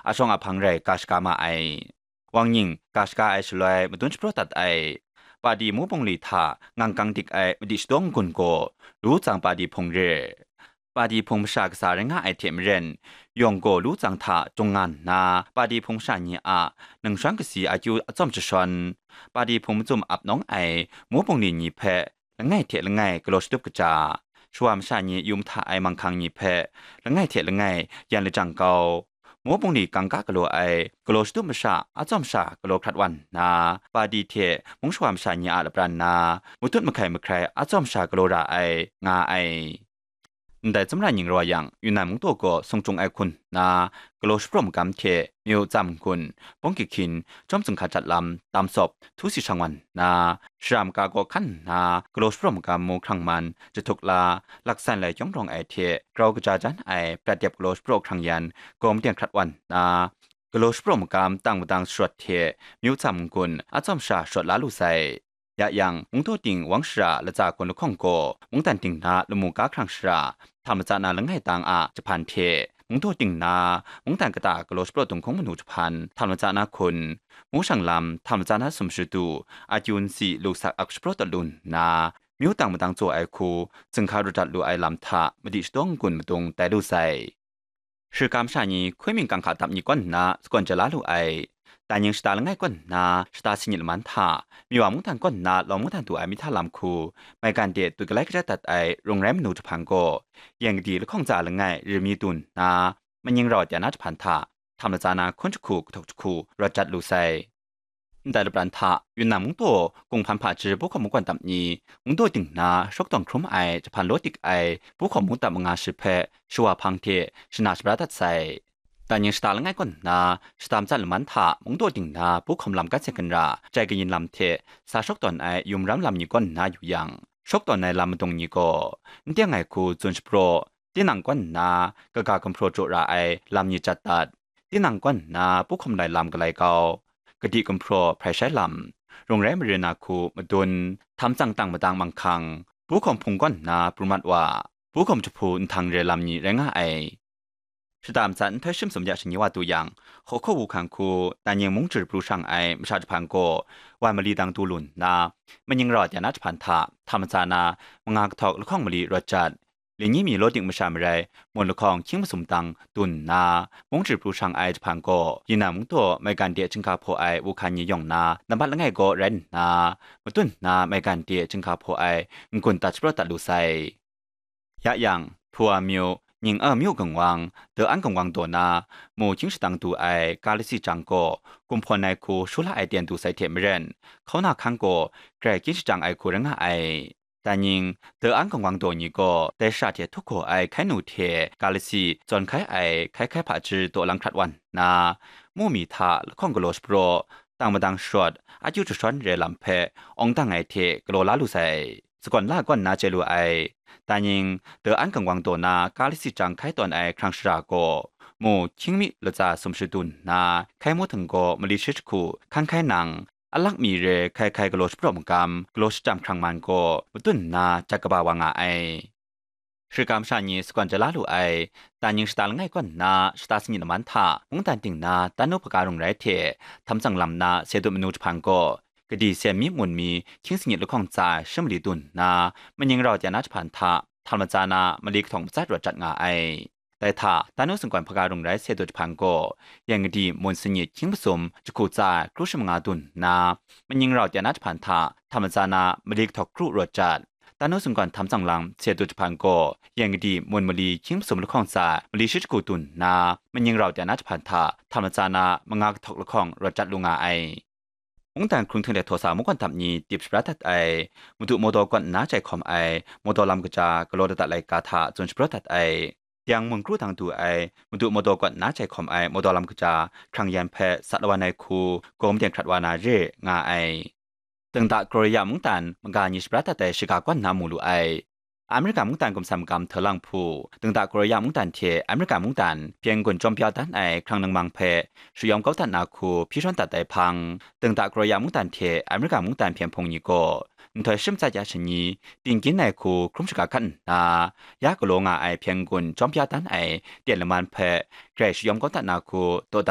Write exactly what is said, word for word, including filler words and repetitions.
a shawng a hpang rai ga shaga ma ai. Wang nying ga shaga ai shaloi madun shapraw dat ai. Padi mu bungli hta ngang kang dik ai madi shadawng n-gun gaw, lu tsang padi hpung re. Padi hpung masha kasa rai nga ai hte maren, yawng gaw lu tsang hta jung nga nna, padi hpung masha ni a ningshawng kasi akyu atsawm jashawn, padi hpung mazum ap nawng ai mu bungli ni hpe langai hte langai galaw shatup kaja, shawa masha ni yu mahta ai manghkang ni hpe langai hte langai yan lajang kau, mu bungli kangka galaw ai galaw shatup masha atsawm sha galaw hkrat wan nna, padi hte mung shawa masha ni a lapran na matut mahkai mahkrai atsawm sha galaw ra ai, nga ai. Ndai tsawmra ning raw yang, Yunnan mungdaw gaw sung cung ai hkun nna, galaw shapraw magam hte, myu tsam n-gun, bawng kihkyin, chyawm zunghka jat lam, tam sawp, htu si shang wan nna, shara maka kaw hkan nna, galaw shapraw magam mu hkrang man, jahtuk la, laksan lai kyawng rawng ai hte, grau kaja jan ai, prat dep galaw shapraw hkrang yan, gaw madeng hkrat wan nna, galaw shapraw magam tang madang sharawt hte, myu tsam n-gun, atsawm sha sharawt la lu sai. Ya yang, mungdaw ting wang shara latsa gawn lahkawng gaw, mungdan ting na lamu ka hkrang shara, hta matsa na langai tang a jahpan hte, mungdaw ting na, mungdan kata galaw shapraw dunghkung manu jahpan, hta matsa na hkun, mu shang lam, hta matsa na sum shadu, akyu nsi lu sak ak shapraw dat lu nna, myu tang madang tsaw ai hku, zunghka rawt dat lu ai lam hta, madi shadawng n-gun madung tai lu sai. Shirka masha ni hkoi ming kang hka dap ni kawn nna sagawn ja la lu ai. Daining shata langai kawn nna shata sanit laman hta, Miwa mungdan kawn nna lawng mungdan du ai mihta lam hku, maigan de tut galai kajat dat ai rung rai manu jahpan gaw, yeng gadi lahkawng tsa langai rimi dun nna, maning rau tya na jahpan hta, hta matsa na hkun jahku kahtaw jahku rawt jat lu sai. Ndai lapran hta, Yunnan mungdaw, Kunghpan hpaji Buhkawm mungkawm dap ni, mungdaw ting na, shawk tawn hkrum ai, jahpan law dik ai, Buhkawm mungdap manga shi hpe, shawa hpang hte, shana shabra dat sai. Daining shata langai kawn nna, shata matsat laman hta, mungdaw ting na, Buhkawm lam gat se ginra, jai kayin lam hte, sa shawk tawn ai, yum ram lam ni kawn nna yu yang, shawk tawn ai lam madung ni gaw, n teng ai hku tsun shapraw, tinang kawn nna, kaga gumhpraw jaw ra ai, lam ni jat dat. Tinang kawn nna Buhkawm lai lam galai kau, kadi gumhpraw hprai shai lam, rung rai mare na hku madun, htam tsang tang madang manghkang, Buhkawm hpung kawn nna pru mat wa, Buhkawm jahpu nhtang re lam ni rai nga ai. Shata matsat nhtoi shim sum ya shani wa tu yang, hkaw hkaw wu hkang hku, Daining mung jir pru shang ai masha jahpan gaw, wan mali dang du lu nna, maning rau tya na jahpan hta, hta matsa na, manga kahtawk lahkawng mali rawt jat, Linyi mi law dik masha marai, mun lahkawng hkying masum dang dun nna, mung jir pru shang ai jahpan gaw, Yunnan mungdaw maigan de chyinghka hpaw ai wuhkan ni yawng na, nambat langai gaw rai nna, madun nna maigan de chyinghka hpaw ai n-gun dat shapraw dat lu sai. Ya yang, Hpua myu, Ning a myu gangwang, Da an gangwang daw na, mu hkying shadang du ai ga lasi jang gaw, kumhpawn ai hku shu la ai ten du sai hte maren, hkauna hkang gaw grai kyin shajang ai hku rai nga ai. Daining, Da an gangwang daw ni gaw, dai shara hte htup gaw ai hkai nu hte ga lasi zawn hkai ai hkai hkai hpaji daw lang hkrat wan nna, mu mi hta lahkawng galaw shapraw, tang madang sharawt, akyu jashawn re lam hpe awng dang ai hte galaw la lu sai. Sagawn la gawn na chye lu ai. Daining, Da an gangwang daw na ga lasi jang hkai tawn ai hkrang shara gaw, mu hkying mi latsa sum shadun nna, hkai mu htung gaw mali shi jahku hkan hkai nang, alak mi re hkai hkai galaw shapraw magam, galaw shachyam hkrang man gaw madun nna jat kaba wa nga ai. Shirka masha ni sagawn ja la lu ai, Daining shata langai kawn nna shata sanit laman hta, mungdan ting na, Danu hpaga rung rai hte, htam tsang lam na, Sedut manu jahpan gaw, kadi sen mi mun mi, hkying sanit lahkawng tsa ai, shi mali dun nna, maning rau tya na jahpan hta, htam matsa na, mali kahtawng matsat rawt jat nga ai. Dai hta, Danu sunggawn hpaga rung rai Sedut jahpan gaw, yeng gadi mun sanit hkying masum jahku tsa ai kru shi manga dun nna, maning rau tya na jahpan hta, htam matsa na, mali kahtawk kru rawt jat. Danu sunggawn htam tsang lam Sedut jahpan gaw, yeng gadi mun mali hkying masum lahkawng tsa ai mali shi jahku dun nna, maning rau tya na jahpan hta, htam matsa na, manga kahtawk lahkawng rawt jat lu nga ai. Mungdan hkrung hting de htaw sa mungkawn dap ni tip shabra dat ai, Madu Mawdaw kawn nna jai hkawm ai, Mawdaw lam kaja galaw dat dat laika hta tsun shabra dat ai, Tiang mun kru dang du ai, Madu Mawdaw kawn nna jai hkawm ai Mawdaw lam kaja hkrang yan hpe sat lawan ai hku, gaw maden hkrat wa na re nga ai. Dengda Korea mungdan maga ni shabra dat ai shiga kawn nna mu lu ai. Amerika mungdan gumsam magam hta lang hpu, Dengda Korea mungdan hte Amerika mungdan hpyen gun chyawm bya dan ai hkrang ningmang hpe shayawm kau dat na hku hpyi shawn dat ai hpang, Dengda Korea mungdan hte Amerika mungdan hpyen hpung ni gaw, nhtoi shim tsat ya shani, tinggyin ai hku hkrum shaga hkat nna, ya galaw nga ai hpyen gun chyawm bya dan ai ten laman hpe grai shayawm kau dat na hku daw